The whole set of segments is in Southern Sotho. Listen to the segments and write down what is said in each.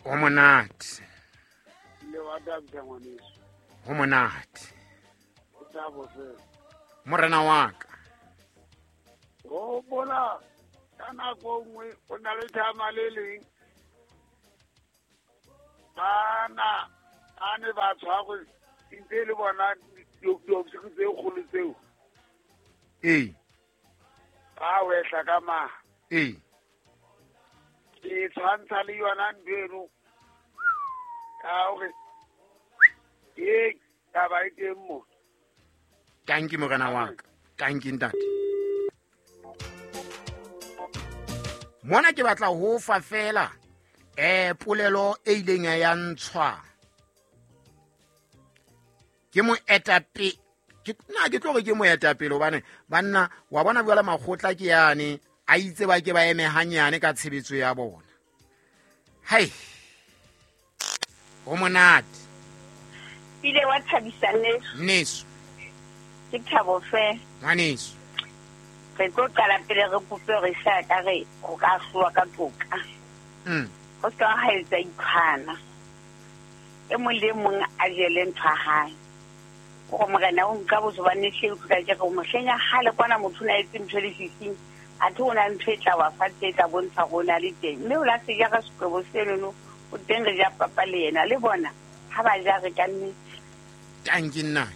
O monate. Le wa thabisa ngwaneso. Ho monate. O thabo fela. Morena wa ka. O bona ka nako nngwe o na le thama le leng. Bana a ne ba tshwarwe ntse le bona diofisiri tse kgolo tseo. Ee. Ba wehla ka maha. Ee. Ke tshwantsha le yona ntho eno ka hore ke taba e teng mo. Tanki morena wa ka. Tanki ntate. Mona ke batla ho fa fela polelo e ileng ya ntshwa ke moetapele. Ke tlo re ke moetapele hobane banna wa bona jwale makgotla ke yane a itse ba ke ba eme hanyane ka tshebetso ya bona. Hai, ho monate. Pile wa thabisa neso. Neso. Ke thabo fe. Ngwaneso. Re tlo qala pele re kope re sa ka re ho ka hloa ka toka. Ho ska ha etsa ikhwana. E mong le mong a jele ntho ya hae. Gore morena o nka botho ba ne hle utlwa ke re mohleng ya kgale kwana motho o na etse ntho le fifing, athe o na ntho e tla wa fatshe e tla bontsha gore o na le teng. Mme o la se jara sekwebo senono, o teng re ja papa le yena le bona ha ba ja re ka nnete. Tanki nna.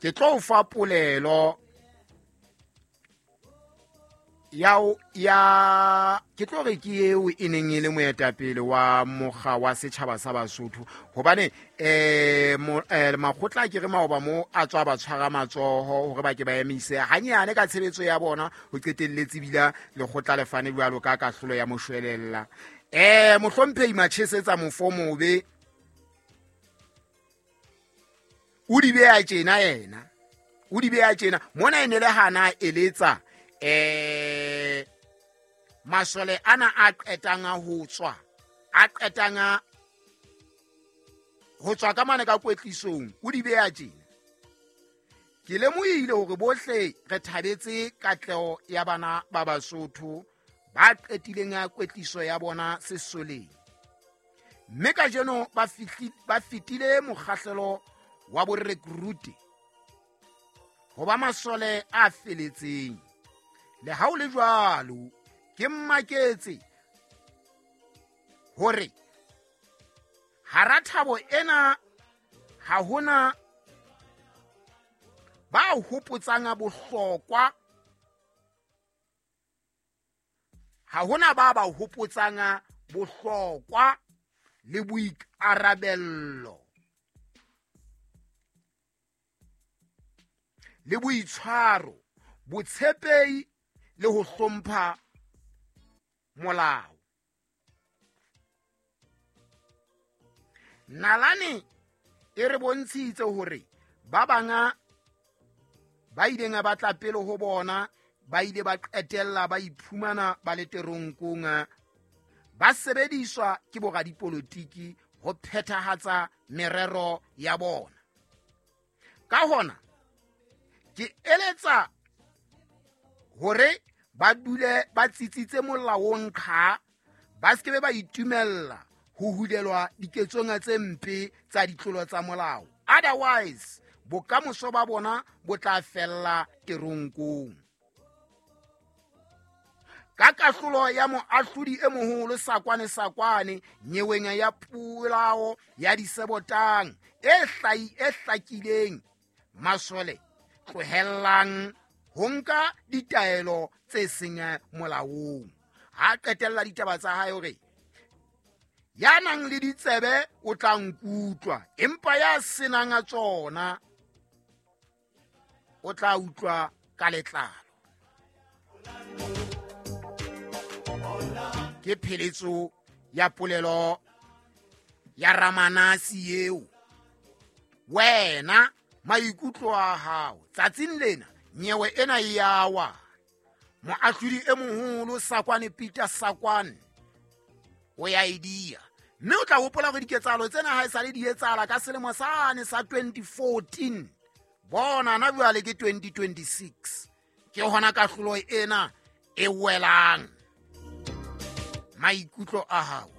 Ke tlo o fa polelo ya ke tlo re ke eo e neng e le moetapele wa mokga wa setjhaba sa Basotho hobane makgotla ke re maoba mo a tswa ba tshwara matsoho hore ba ke ba emise hanyane ka tshebetso ya bona ho qetelletse bila lekgotla le fane jwalo ka kahlolo ya moshwelella. Mohlomphehi Machesetsa mofo mobe o di beha tjena yena, o di beha tjena mona e ne le hana eletsa masole ana a qetang ho tswa, a qetang ho tswa ka mane ka kwetlisong, o di beha tjena. Ke lemohile hore bohle re thabetse katleho ya bana ba Basotho ba qetileng ya kwetliso ya bona sesoleng. Mme kajeno ba fetile mokgahlelo wa borekrute ho ba masole a feletseng. Le ha ho le jwalo, ke mmaketse hore hara thabo ena ha hona ba hopotsang bohlokwa, ha hona ba ba hopotsang bohlokwa le boikarabello le boitshwaro, botshepehi le ho hlompha molao. Nalane e re bontshitse hore ba banga ba ileng ba tla pele ho bona ba ile ba qetella ba iphumana ba le teronkong, ba sebediswa ke boradipolotiki ho phethahatsa merero ya bona. Ka hona ke eletsa hore ba dule ba tsitsitse molaong qha, ba se ke ba itumella ho hulelwa diketsong tse mpe tsa ditlolo tsa molao. Otherwise, bokamoso ba bona bo tla fella teronkong. Ka kahlolo ya moahlodi e moholo Sakwane Sakwane nyeweng ya polao ya Disebotang e hlakileng, masole tlohellang ho nka ditaelo tse seng molaong. Ha qetella ditaba tsa hae hore ya nang le ditsebe o tla nkutlwa, empa ya senang a tsona o tla utlwa ka letlalo. Ke pheletso ya polelo ya Ramanasi eo. Wena maikutlo a hao tsatsing lena nyewe ena e ya wa. Moahlodi e moholo Sakwane Peter Sakwane o ya e dia. Mme o tla hopola hore diketsahalo tsena ha e sale di etsahala ka selemo sane sa 2014. Bona na jwale ke 2026. Ke hona kahlolo ena e welang. Maikutlo a hao.